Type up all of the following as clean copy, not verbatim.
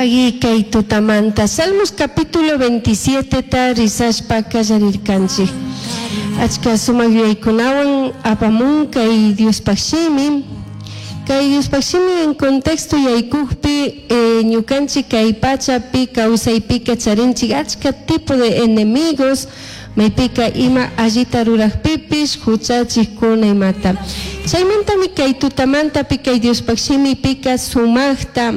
Pagui kay tutamanta Salmos capítulo 27 ta rizashpa kallarirkanchik. Achka sumak yuyaykunawan apamun kay Diospaj shimi. Kay Diospaj shimi en contexto yaykukpi ñukanchik kay pachapi kawsaypika charinchik achka tipo de enemigos maypika ima allita rurakpipish huchachikkuna imata. Chaymantami kay tutamantapi kay Diospaj shimipika sumakta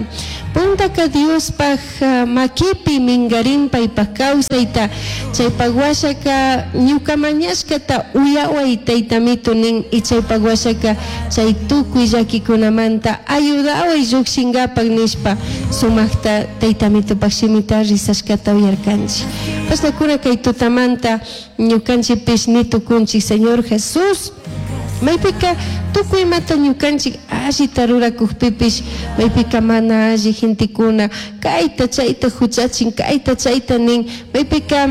puntaka Diospaj makipi mingarin paypaj kawsayta chaypaj washaka ñuka mañashkata uyaway taytamito nin y chaypaj washaka chay tukuy llakikunamanta ayudaway llukshinkapak nishpa sumakta taytamitopaj shimita rizashkata uyarkanchik. Pashnakuna kay tutamanta ñukanchikpish ni tukunchik Señor Jesús maypika tukuy imata ñukanchik allita rurakukpipish maypika mana alli gentekuna kayta chayta huchachin kayta chayta nin maypika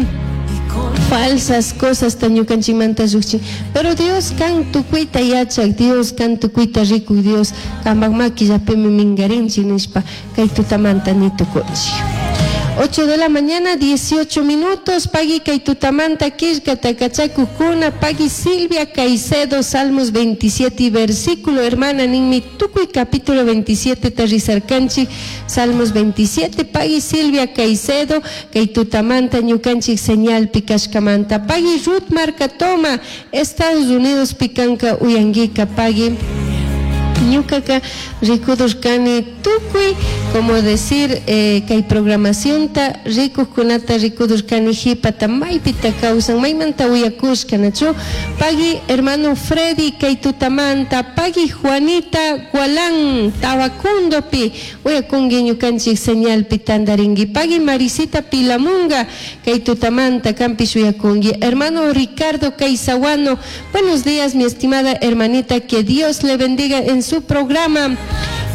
falsas cosasta ñukanchikmanta llukchin pero Dios kan tukuyta yachak Dios kan tukuyta rikuk Dios kanpak makillapimi mingarinchik nishpa kay tutamanta ni tukunchik. 8 de la mañana, 18 minutos, pagui kay tutamanta killkata kachakukuna, pagui Silvia Caicedo, Salmos 27, versículo, hermana, ninmi tukuy capítulo 27 ta rizarkanchik, Salmos 27, pagui Silvia Caicedo, kay tutamanta ñukanchik señalpi kashkamanta, pagui Ruth Marcatoma, Estados Unidos pikanka uyanguika, pagui ñukaka rikudurkani tukuy como decir kay programacionta rikukkunata rikudurkani hipata maypita kawsan maymanta uyakushka nachu pagui hermano Freddy kay tutamanta pagui Juanita Gualán Tabacundopi uyakunki ñukanchik señalpi tantarinki pagui Marisita Pilamunga kay tutamanta kanpish uyakunki hermano Ricardo Caizahuano buenos días mi estimada hermanita que Dios le bendiga en su programa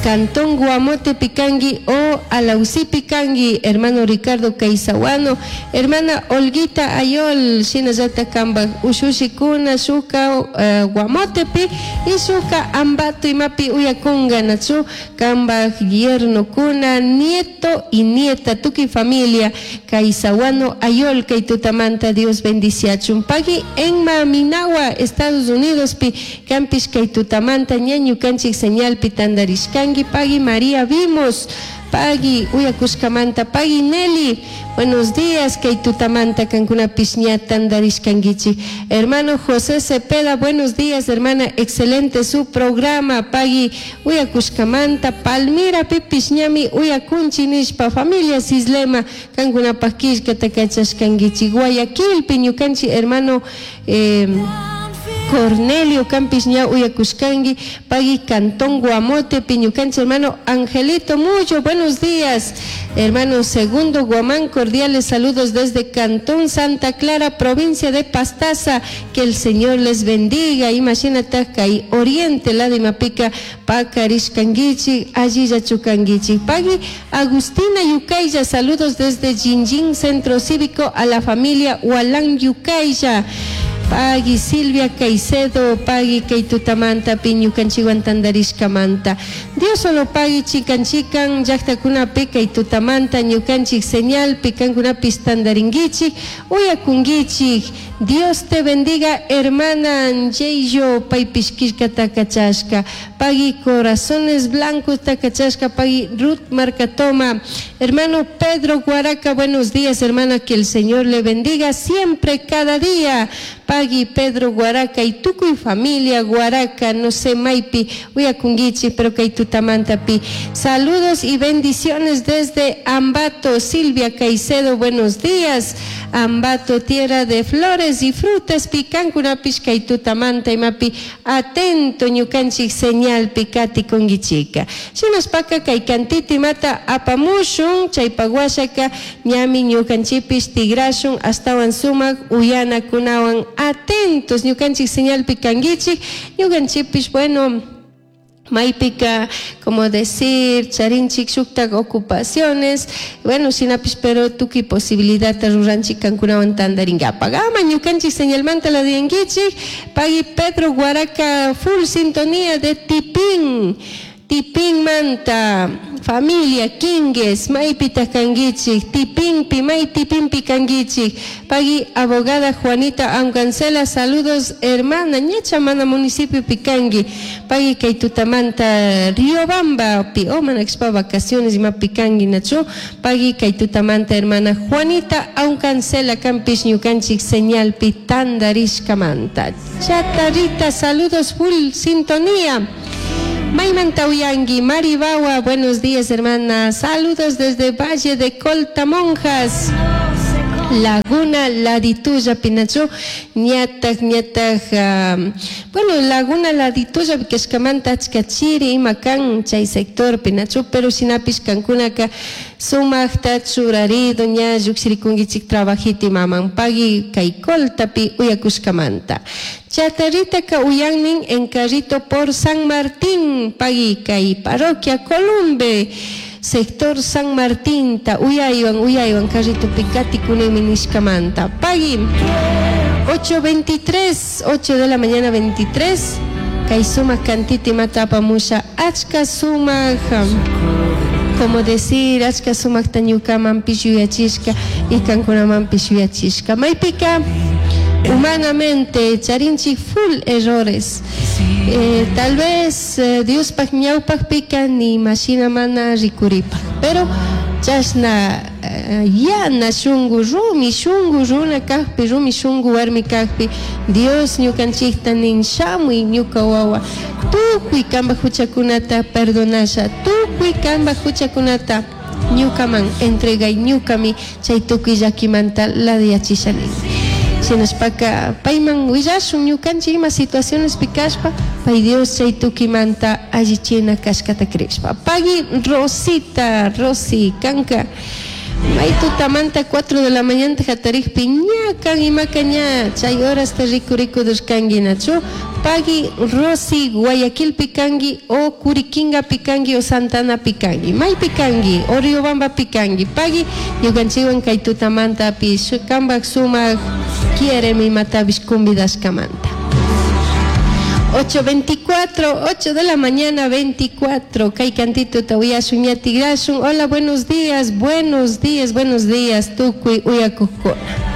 Cantón Guamote Picangi o Alausí Picangi, hermano Ricardo Caizahuano, hermana Olguita Ayol, shinallata kambaj ushushikuna shuka Guamotepi y shuka Ambato imapi uyakunga nachu kambaj yernokuna, nieto y nieta, tukuy familia Caizahuano Ayol, kay tutamanta Dios bendiciachun. Pagui Enma Minawa, Estados Unidos pi, kampish kay tutamanta ñañukanchik señalpi tandarishkanki, pagui María Vimos, pagui uyakushkamanta, pagui Nelly, buenos días, kay tutamanta kankunapish ña tandarishkankichik. Hermano José Cepeda, buenos días, hermana, excelente su programa, pagui uyakushkamanta, Palmira pipish ñami uyakunchi nishpa, familia Cislema, kankunapaj killkata kachashkankichik. Guayaquilpi ñukanchik hermano Cornelio kampish ña uyakushkanki, pagui Cantón Guamotepi ñukanchik hermano Angelito Mullo, buenos días, hermano Segundo Guamán, cordiales saludos desde Cantón Santa Clara, provincia de Pastaza, que el Señor les bendiga. Imagínate kay Oriente lado imapika pakarishkankichik, allilla chukankichik. Pagui Agustina Yucaylla, saludos desde Jinjin Centro Cívico a la familia Hualán Yucaylla. Pagui Silvia Caicedo, pagui kay tutamanta ñukanchikwan tandarishkamanta. Dios solo pagui chikan chikan llaqtakunapi kay tutamanta ñukanchik señalpi kankunapis tandarinkichik, uyakunkichik. Dios te bendiga, hermana Anjeyo, paypish killkata kachashka. Pagui Corazones Blancos takachashka, pagui Ruth Marcatoma. Hermano Pedro Guaraca, buenos días, hermana, que el Señor le bendiga siempre, cada día. Pagui Pedro Guaraca y tukuy familia Guaraca, no sé, maypi, uyakunguichi, pero kay tutamantapi. Saludos y bendiciones desde Ambato, Silvia Caicedo, buenos días. Ambato, tierra de flores y frutas, picancunapish kay tutamanta imapi, atento ñukanchik señal pikati kungichika. Shinashpaka kay kantiti mata apamushun, chaypaguashaka ñami ñukanchipish tigrashun, astawan sumak uyanakunawan atentos ñukanchik señalpi kanguichik, ñukanchipish, bueno, maypika, como decir, charinchik shuktak ocupaciones, bueno, shinapish pero tukuy posibilidadta ruranchik kankunawan tandarinkapak. Ama ñukanchik señalmanta la diankichik, pagui Pedro Guaraca, full sintonía de Tipín. Tipinmanta familia Quingues, maypitaq kankichik? Tipinpi, may tipinpi kankichik? Pagui abogada Juanita Aucancela, saludos hermana, ñacha mana municipiopi kanki. Pagui kay tutamanta Riobambapi, o mana kashpa vacaciones imapi kanki nachu? Pagui kay tutamanta hermana Juanita Aucancela kanpish ñukanchik señalpi tandarishkamanta. Chatarrita, saludos full sintonía. Maymanta uyanki, Maribawa, buenos días hermana, saludos desde Valle de Colta Monjas, Laguna Ladituya, Pinachu, ñataj, ñataj, bueno, Laguna Ladituya, kashkamanta achka chiri ima kan chay sector Pinachu, pero shinapish kankunaka sumaqta churarido ña llukshirikunkichik trabajito imaman pagui kay Coltapi uyakushkamanta. Chatarritaka uyannin en carrito por San Martín, pagui kay parroquia Columbe, sector San Martín, ta uyaywan, uyaywan carritopi katikunimi nishkamanta. Pagui 8:23, 8 de la mañana 23, kay sumak cantita imata apamusha, achka sumak, como decir, achka sumakta ñukamanpish yuyachishka y kankunamanpish yuyachishka. Maypika humanamente charinchik full errores. Tal vez Diospaj ñawpajpika ni mashina mana rikuripaj, pero chashna yana shungu, rumi shungu runa kajpi, rumi shungu warmi kajpi, Dios ñukanchikta nin, shamuy ñuka wawa, tukuy kambaj huchakunata perdonasha, tukuy kambaj huchakunata ñukaman entregay, ñukami chay tukuy llakimanta ladiyachisha nin. Shinashpaka payman willashun ñukanchik ima situacionespi kashpa, pay Dios chay tukimanta allichina kashkata crishpa. Pagui Rosita, Rosi, kanka, may tutamanta 4 de la mañana hatarikpi ña kan imaka ña chay horasta rikurikudurkanki nachu. Pagui Rosi, Guayaquilpi kanki o Curiquingapi kanki o Santanapi kanki, maypi kanki o Riobambapi kanki. Pagui ñukanchikwan kay tutamantapish kambaj sumak quieremi imatapish convidashkamanta. 8:24, 8 de la mañana 24, kay cantito uyashun ña tigrashun. Hola, buenos días, buenos días, buenos días, tukuy uyakukuna.